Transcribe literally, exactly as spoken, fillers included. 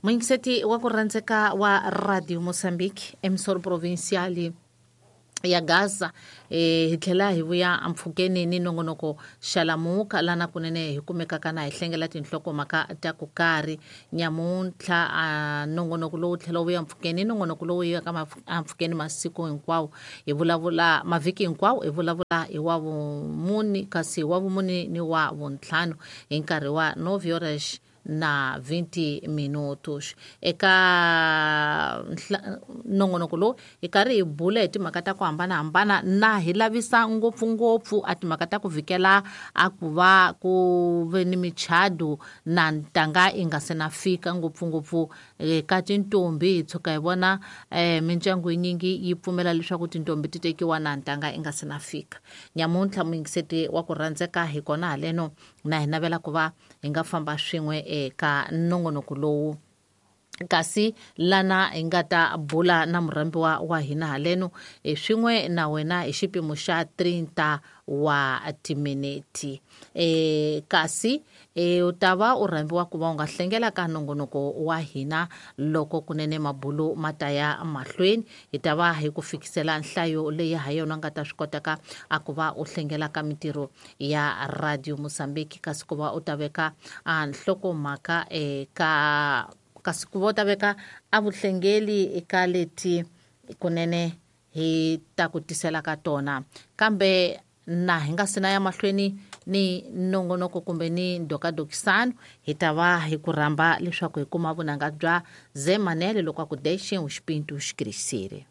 Muyingiseti wa ku rhandzeka wa Radio Mozambique, emissora provincial ya Gaza, eh hi tlhela hi vuya ampfhukeni ni nongonoko Xalamuka lana kunene hi kumekaka na hi hlengela tinhlokomhaka ta ku karhi nyamuntlha. A nongonoko lowu tlhela wu vuya mpfhukeni, nongonoko lowu yaka ampfhukeni masiku hinkwawo, hi vulavula mavhiki hinkwawo, hi vulavula hi wa vumuni, kasi wa vumuni ni wa vuntlhanu hi nkarhi wa nove horas na vinte minutos. Eka nongonoko lowu hi karhi hi bula hi timhaka ta ku hambanahambana na hi lavisa ngopfungopfu a timhaka ta ku vhikela a ku va ku ve ni michado na ntanga yi nga se na fika, ngopfungopfu ka tintombi. Hi tshuka hi vona um mindyangu yinyingi yi pfumela leswaku tintombi ti tekiwa na ntanga yi nga se na fika. Nyamuntlha muyingiseti wa ku rhandzeka hi kona haleno na hi navela ku va hi nga famba swin'we eka nongonoko lowu, kasi lana hi nga ta bula na murhambiwa wa hina haleno swin'we na wena hi xipimo xa trinta wa timinete. E kasi e u ta va u rhambiwa ku va u nga hlengela ka nongonoko wa hina loko kunene mabulo ma ta ya mahlweni. Hi ta va hi ku fikisela nhlayo leyi ha yona nga ta swi kotaka a ku va u hlengela ka mintirho ya Radio Mozambique, kasi ku va u ta veka a nhlokomhaka eka kasi ku va u ta veka a vuhlengeli eka leti kunene hi ta ku tisela ka tona. Kambe na hi nga sina ya mahlweni ni nongonoko kumbe ni ndokadokisano, hi ta va hi ku rhamba leswaku hi kuma vunanga bya Zé Manele loko a ku deixem os pintos crescerem.